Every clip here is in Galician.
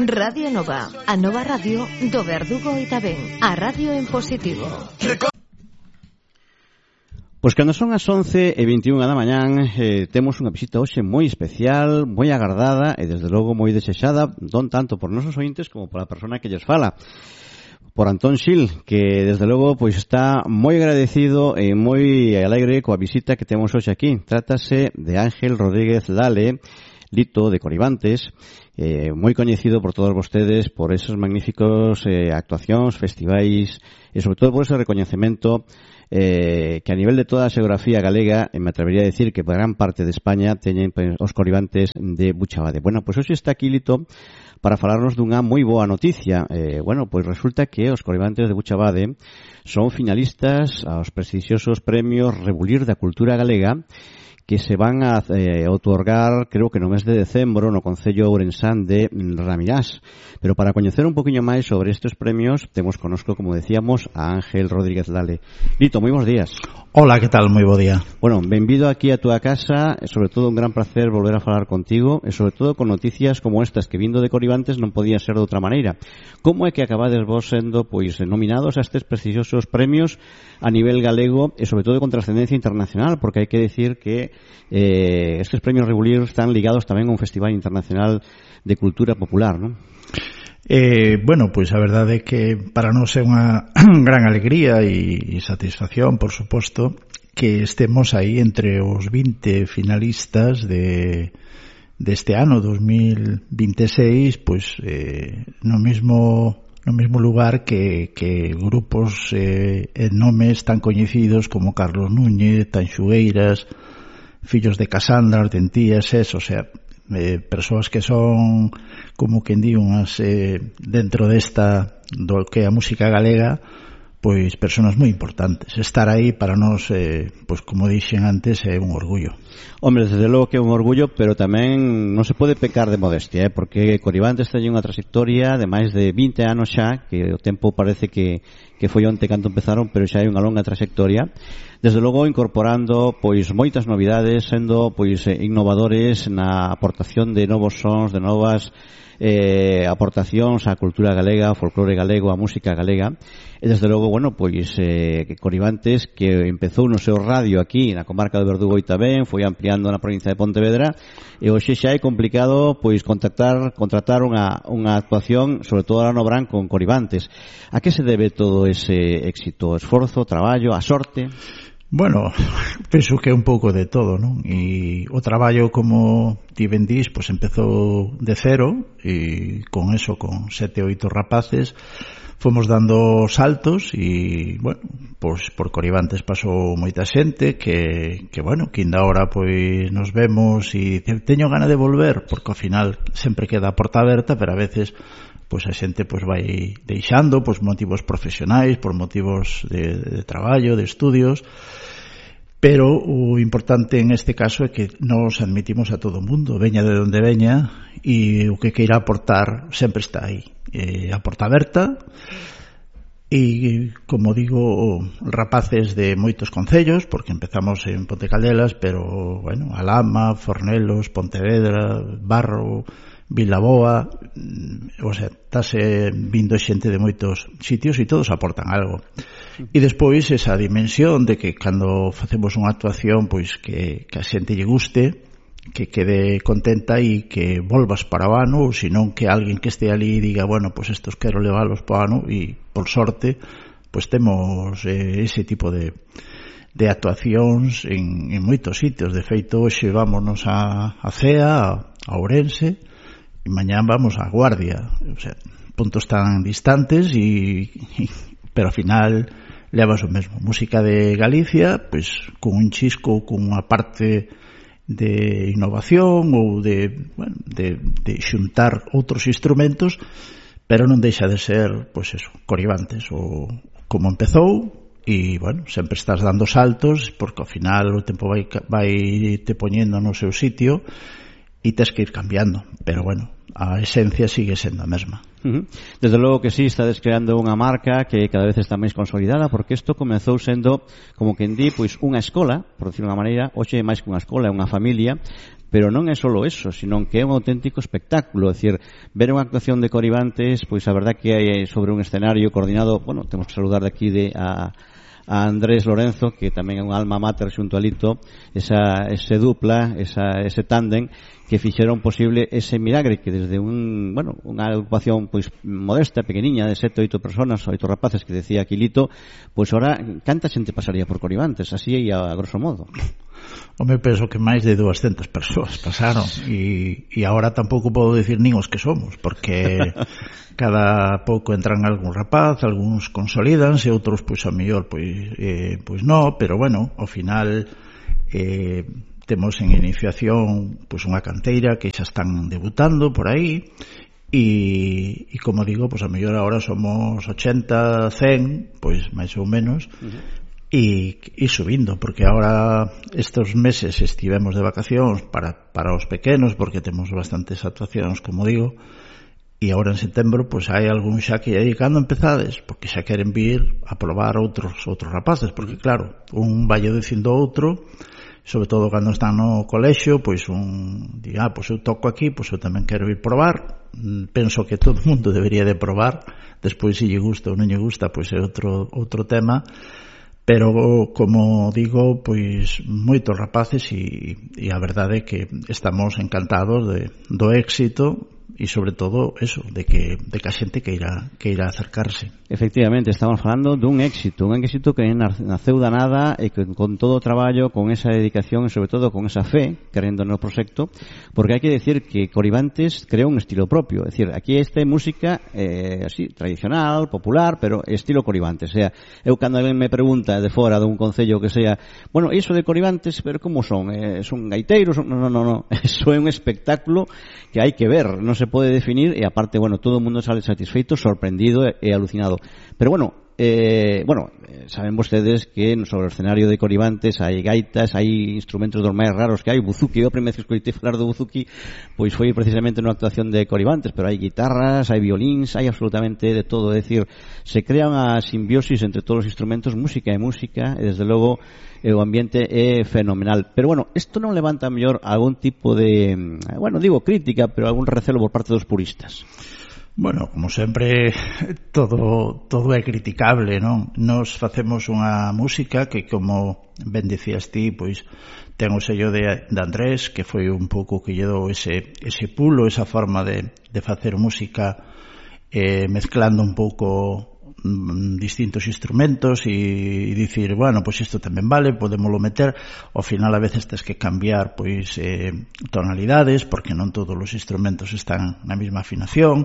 Radio Nova, a nova radio do Verdugo e tamén a radio en positivo. Pois cando son as 11:21 da mañán, temos unha visita hoxe moi especial, moi agardada e desde logo moi desexada, non tanto por nosos ointes como por a persona que lles fala, por Antón Xil, que desde logo pois está moi agradecido e moi alegre coa visita que temos hoxe aquí. Trátase de Ángel Rodríguez Lale, Lito de Coribantes, moi coñecido por todos vostedes por esos magníficos actuacións, festivais e sobre todo por ese recoñecemento que a nivel de toda a xeografía galega, me atrevería a decir que por gran parte de España teñen os Coribantes de Buchabade. Bueno, pois hoxe está aquí Lito para falarnos dunha moi boa noticia. Pois resulta que os Coribantes de Buchabade son finalistas aos prestixiosos premios Rebulir da Cultura Galega, que se van a outorgar, creo que no mes de decembro, no Concello Ourensán de Ramirás. Pero para coñecer un poquinho máis sobre estes premios, temos conosco, como decíamos, a Ángel Rodríguez Lale. Lito, moi bons días. Hola, que tal? Moi bo día. Bueno, benvido aquí a túa casa, e sobre todo un gran placer volver a falar contigo, e sobre todo con noticias como estas, que vindo de Coribantes non podía ser de outra maneira. Como é que acabades vos sendo pois nominados a estes prestixiosos premios a nivel galego e sobre todo con trascendencia internacional, porque hai que decir que estes premios Rebulir están ligados tamén a un festival internacional de cultura popular, non? Pois a verdade é que para nós é unha gran alegría e satisfacción, por suposto, que estemos aí entre os 20 finalistas deste ano 2026, pois no mesmo lugar que grupos e nomes tan coñecidos como Carlos Núñez, Tanxugueiras, Fillos de Casandra, Hortentías, o sea, persoas que son, como quen di, unhas dentro desta do que é a música galega, pois persoas moi importantes. Estar aí para nós, pois como dixen antes, é un orgullo. Hombre, desde logo que é un orgullo, pero tamén non se pode pecar de modestia, porque Coribantes ten unha trayectoria de máis de 20 anos xa, que o tempo parece que foi onte cando empezaron, pero xa hai unha longa trayectoria. Desde logo incorporando pois moitas novidades, sendo pois innovadores na aportación de novos sons, de novas aportacións á cultura galega, ao folclore galego, á música galega. E desde logo, pois Coribantes, que empezou no seu radio aquí na comarca do Verdugo e tamén foi ampliando na provincia de Pontevedra, e hoxe xa é complicado pois contratar unha actuación, sobre todo a no Brán, con Coribantes. A que se debe todo ese éxito? Esforzo, traballo, a sorte? Bueno, penso que é un pouco de todo, non? E o traballo, como ti ben dís, pois empezou de cero, e con 7, 8 rapaces fomos dando saltos e, pois por Coribantes pasou moita xente que ainda ahora pois nos vemos e teño gana de volver, porque ao final sempre queda a porta aberta, pero a veces pois a xente pois vai deixando por motivos profesionais, por motivos de traballo, de estudios, pero o importante en este caso é que nos admitimos a todo o mundo, veña de onde veña, e o que queira aportar sempre está aí, a porta aberta. E, como digo, rapaces de moitos concellos, porque empezamos en Ponte Caldelas, pero, Alhama, Fornelos, Pontevedra, Barro, Vilaboa, o sea, estase vindo xente de moitos sitios e todos aportan algo. E despois esa dimensión de que cando facemos unha actuación, pois que a xente lle guste, que quede contenta e que volvas para o ano, ou senón que alguén que este ali diga, pois estos quero levalos para o ano, e por sorte pois temos ese tipo de actuacións en moitos sitios. De feito, hoxe vámonos a Cea, a Ourense, e mañán vamos a Guardia, o sea, puntos tan distantes pero ao final levas o mesmo. Música de Galicia, pois con un chisco, con unha parte de innovación ou de xuntar outros instrumentos, pero non deixa de ser, pois eso, Coribantes, ou como empezou, e, sempre estás dando saltos, porque ao final o tempo vai te poñendo no seu sitio e tes que ir cambiando, pero a esencia sigue sendo a mesma. Desde logo que sí, estades creando unha marca que cada vez está máis consolidada, porque isto comezou sendo, como quen di, pois unha escola, por decirlo de unha maneira. Hoxe é máis que unha escola, é unha familia, pero non é só eso, sino que é un auténtico espectáculo. É dicir, ver unha actuación de Coribantes, pois a verdad que hai sobre un escenario coordinado. Bueno, temos que saludar de aquí a Andrés Lorenzo, que tamén é un alma mater xunto a Lito, ese dupla, ese tándem que fixeron posible ese milagre, que desde unha agrupación pois modesta, pequeniña, de 7 ou 8 personas, 8 rapaces, que decía Aquilito, pois ahora canta xente pasaría por Coribantes, así é a grosso modo. Home, penso que máis de 200 persoas pasaron, e agora tampouco podo dicir nin os que somos, porque cada pouco entran algún rapaz, algúns consolidanse, outros pois a mellor pois non, pero bueno, ao final temos en iniciación pois unha canteira que xa están debutando por aí, e como digo, pois a mellor agora somos 80, 100, pois máis ou menos, e subindo, porque agora estes meses estivemos de vacacións para os pequenos, porque temos bastantes actuacións, como digo, e agora en setembro pois hai algún xa que aí cando empezades, porque xa queren vir a probar outros rapaces, porque claro, un vai dicindo outro, sobre todo cando están no colexio, pois un di, pois eu toco aquí, pois eu tamén quero ir probar. Penso que todo o mundo debería de probar, despois se lle gusta ou non lle gusta, pois é outro tema, pero como digo, pois moitos rapaces, e a verdade é que estamos encantados do éxito, e sobre todo eso, de que a xente queira acercarse. Efectivamente, estamos falando dun éxito que naceu da nada, e que con todo o traballo, con esa dedicación e sobre todo con esa fe, querendo no proxecto, porque hai que decir que Coribantes creou un estilo propio. É dicir, aquí esta música así, tradicional, popular, pero estilo Coribantes. O sea, eu cando alguén me pregunta de fora dun concello que sea, bueno, iso de Coribantes, pero como son? Son gaiteiros? No. Eso é un espectáculo que hai que ver, non se pode definir, e aparte, bueno, todo o mundo sale satisfeito, sorprendido e alucinado. Pero bueno, saben vostedes que sobre o escenario de Coribantes hai gaitas, hai instrumentos dos máis raros que hai. O buzuki, eu a primeira vez que escoitei falar do buzuki pois foi precisamente nunha actuación de Coribantes, pero hai guitarras, hai violíns, hai absolutamente de todo. É dicir, se crea unha simbiosis entre todos os instrumentos, música e música, e desde logo o ambiente é fenomenal. Pero bueno, isto non levanta mellor algún tipo de, digo crítica, pero algún recelo por parte dos puristas. Bueno, como sempre, todo é criticable, non? Nos facemos unha música que, como ben dicías ti, pois ten o sello de Andrés, que foi un pouco que lle dou ese pulo, esa forma de facer música, mezclando un pouco distintos instrumentos e dicir, bueno, pois isto tamén vale, podémoslo meter. Ao final a veces tens que cambiar pois tonalidades, porque non todos os instrumentos están na mesma afinación,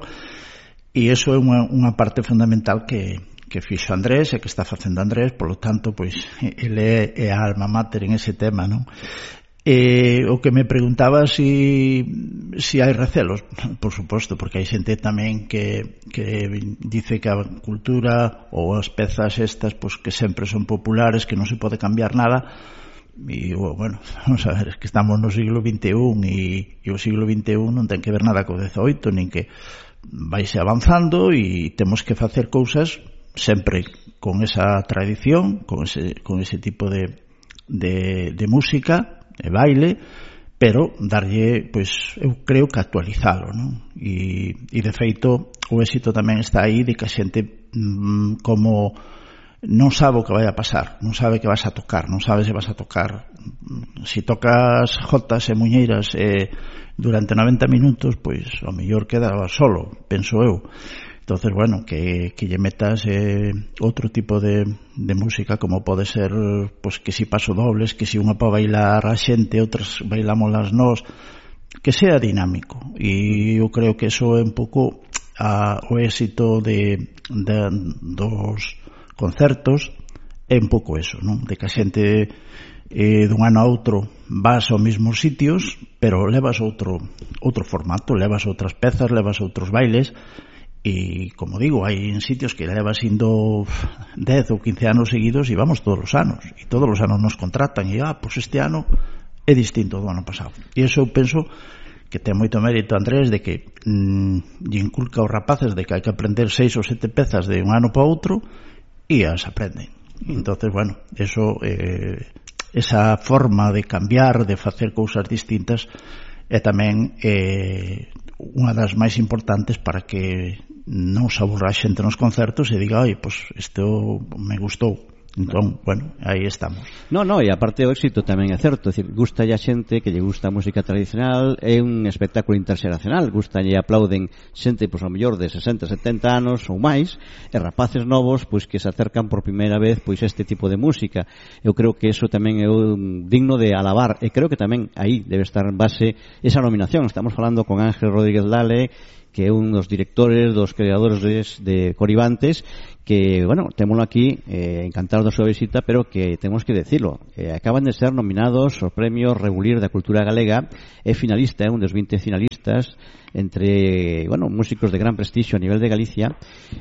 e iso é unha parte fundamental que fixo Andrés e que está facendo Andrés. Polo tanto, pois ele é a alma mater en ese tema, non? O que me preguntaba si hai recelos, por suposto, porque hai xente tamén que dice que a cultura ou as pezas estas pois que sempre son populares, que non se pode cambiar nada. E, bueno, vamos a ver, que estamos no siglo XXI, e o siglo XXI non ten que ver nada co XVIII, nin que vaise avanzando, e temos que facer cousas sempre con esa tradición, con ese tipo de música e baile, pero darlle, pois, eu creo que actualizalo, non? E de feito, o éxito tamén está aí de que a xente como non sabe o que vai a pasar, non sabe que vas a tocar, non sabe se vas a tocar. Si tocas jotas e muñeiras durante 90 minutos, pois ao mellor queda solo, penso eu. Entonces, bueno, que lle metas outro tipo de música, como pode ser, pois, que si paso dobles, que si unha para bailar a xente, outras bailámolas nós, que sea dinámico. E eu creo que eso é un pouco o éxito dos concertos, é un pouco eso, non? De que a xente dun ano a outro vas aos mesmos sitios, pero levas outro formato, levas outras pezas, levas outros bailes. E, como digo, hai en sitios que levas indo 10 ou 15 anos seguidos e vamos todos os anos. E todos os anos nos contratan e, pois este ano é distinto do ano pasado. E iso eu penso ten moito mérito Andrés de que lle inculca aos rapaces de que hai que aprender 6 ou 7 pezas de un ano para outro e as aprenden. Entonces, bueno, eso esa forma de cambiar, de facer cousas distintas é tamén unha das máis importantes para que non se aburra a xente nos concertos e diga, oi, pois isto me gustou. Entón, bueno, aí estamos. E aparte o éxito tamén é certo, é dicir, gusta a xente que lle gusta a música tradicional, é un espectáculo interxeracional, gusta e aplauden xente, pois, ao mellor de 60, 70 anos ou máis, e rapaces novos, pois, que se acercan por primeira vez, pois, a este tipo de música. Eu creo que eso tamén é digno de alabar, e creo que tamén aí debe estar en base esa nominación. Estamos falando con Ángel Rodríguez Lale, que é un dos directores, dos creadores de Coribantes, que, bueno, témolo aquí, encantado da súa visita, pero que temos que decirlo, acaban de ser nominados ao premio Regulir da Cultura Galega, é finalista, un dos 20 finalistas, entre, bueno, músicos de gran prestixio a nivel de Galicia,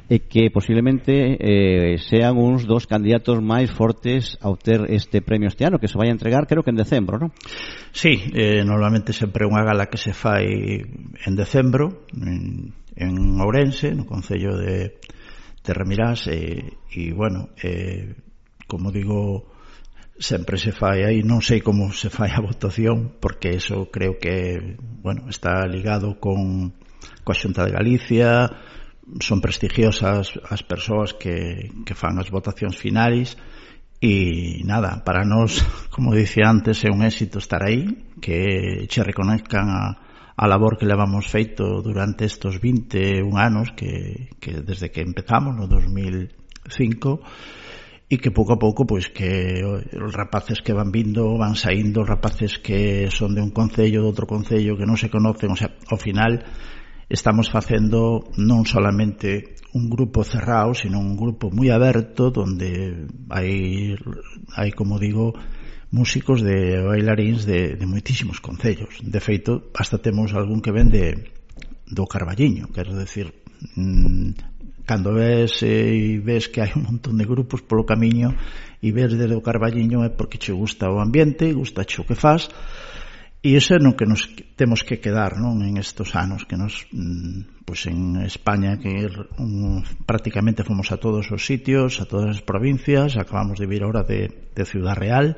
e que posiblemente sean uns dos candidatos máis fortes a obter este premio este ano, que se vai a entregar, creo que en decembro, non? Sí, normalmente sempre unha gala que se fai en decembro, en Ourense, no concello de Remirás, e bueno, como digo, sempre se fai aí, non sei como se fai a votación, porque eso creo que, bueno, está ligado coa Xunta de Galicia, son prestigiosas as persoas que fan as votacións finais, e nada, para nós, como dicía antes, é un éxito estar aí, que che reconozcan a labor que levamos feito durante estos 21 anos que desde que empezamos no 2005, e que pouco a pouco, pois, que os rapaces que van vindo van saindo, os rapaces que son de un concello, de outro concello, que non se conocen, o sea, ao final estamos facendo non solamente un grupo cerrado, sino un grupo moi aberto, donde hai, como digo, músicos de bailaríns de moitísimos concellos. De feito, hasta temos algún que ven do Carballiño, quero decir, cando ves que hai un montón de grupos polo camiño e ves desde o Carballiño é porque che gusta o ambiente, gusta o que faz, e iso é no que nos temos que quedar, non, en estos anos que nos, pois en España, que prácticamente fomos a todos os sitios, a todas as provincias, acabamos de vir ahora de Ciudad Real,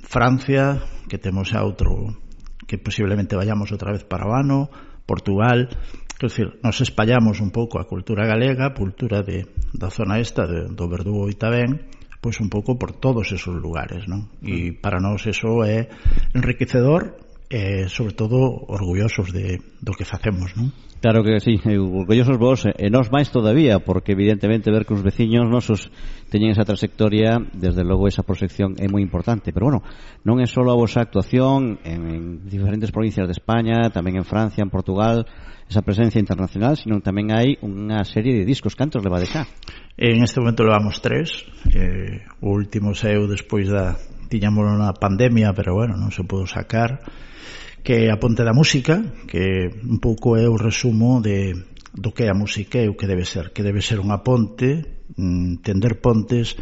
Francia, que temos a outro, que posiblemente vayamos outra vez para o ano, Portugal, quer decir, nos espallamos un pouco a cultura galega, a cultura da zona esta, do Verdugo e Itabén, pois un pouco por todos esos lugares, non? E para nós eso é enriquecedor e, sobre todo, orgullosos do que facemos, non? Claro que sí, orgullosos vos, e nós máis todavía, porque evidentemente ver que os veciños nosos teñen esa trayectoria, desde logo esa proxección é moi importante, pero bueno, non é só a vosa actuación en diferentes provincias de España, tamén en Francia, en Portugal, esa presencia internacional, sino tamén hai unha serie de discos. Cantos leva de xa? En este momento levamos 3, o último saiu despois tiñamos na pandemia, pero bueno, non se pudo sacar, que é A Ponte da Música, que un pouco é o resumo do que é a música e o que debe ser unha ponte, tender pontes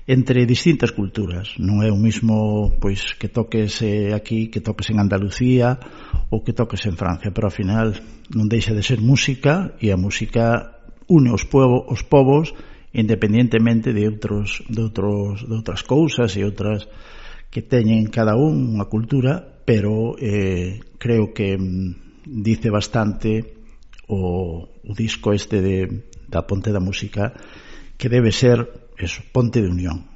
entre distintas culturas. Non é o mismo, pois, que toques aquí, que toques en Andalucía ou que toques en Francia, pero ao final non deixa de ser música, e a música une os povos independientemente de outras cousas e outras que teñen cada unha cultura, pero creo que dice bastante o disco este da Ponte da Música, que debe ser eso, ponte de unión.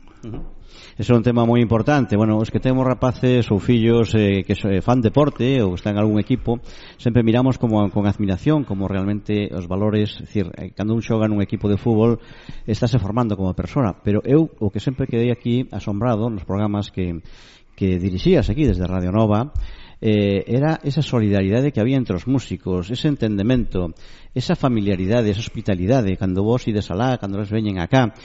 Ese é un tema moi importante. Bueno, os que temos rapaces ou fillos que fan deporte ou están en algún equipo, sempre miramos con admiración como realmente os valores, é dicir, cando un xoga nun equipo de fútbol estáse formando como persona, pero eu o que sempre quedei aquí asombrado nos programas que dirixías aquí desde Radio Nova, era esa solidaridade que había entre os músicos, ese entendemento, esa familiaridade, esa hospitalidade, cando vos ides alá, cando vos veñen acá.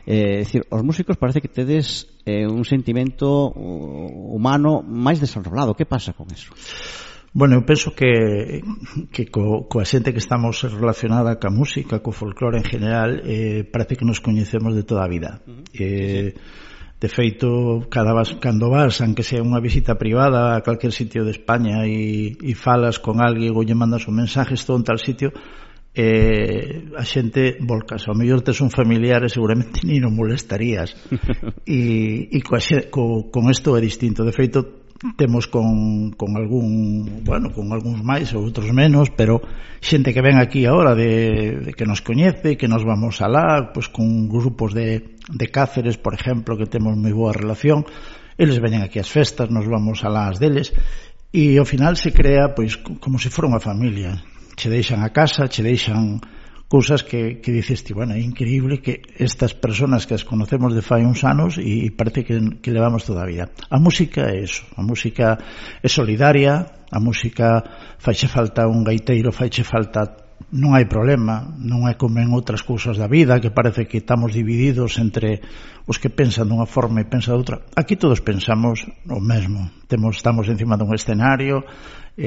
É dicir, os músicos parece que tedes un sentimento humano máis desenrolado. Que pasa con eso? Bueno, eu penso que coa xente que estamos relacionada ca música, co folclore en general, parece que nos coñecemos de toda a vida. Sí. De feito, cando vas, aunque sea unha visita privada a calquer sitio de España e falas con alguén ou lle mandas un mensaje, estou en tal sitio, a xente volcas. Ao mellor tes un familiar e seguramente ni non molestarías. E con isto é distinto. De feito, temos con algúns máis ou outros menos, pero xente que ven aquí agora de que nos coñece, que nos vamos alá, pois con grupos de Cáceres, por exemplo, que temos moi boa relación, eles veñen aquí ás festas, nos vamos alá as deles, e ao final se crea pois como se fora unha familia. Che deixan a casa, che deixan cousas que dices ti, bueno, é increíble que estas personas que as conocemos de fai uns anos e parece que levamos toda a vida. A música é eso, a música é solidaria, a música faiche falta un gaiteiro, faiche falta, non hai problema, non é como en outras cousas da vida que parece que estamos divididos entre os que pensan dunha forma e pensan de outra. Aquí todos pensamos o mesmo, estamos encima dun escenario,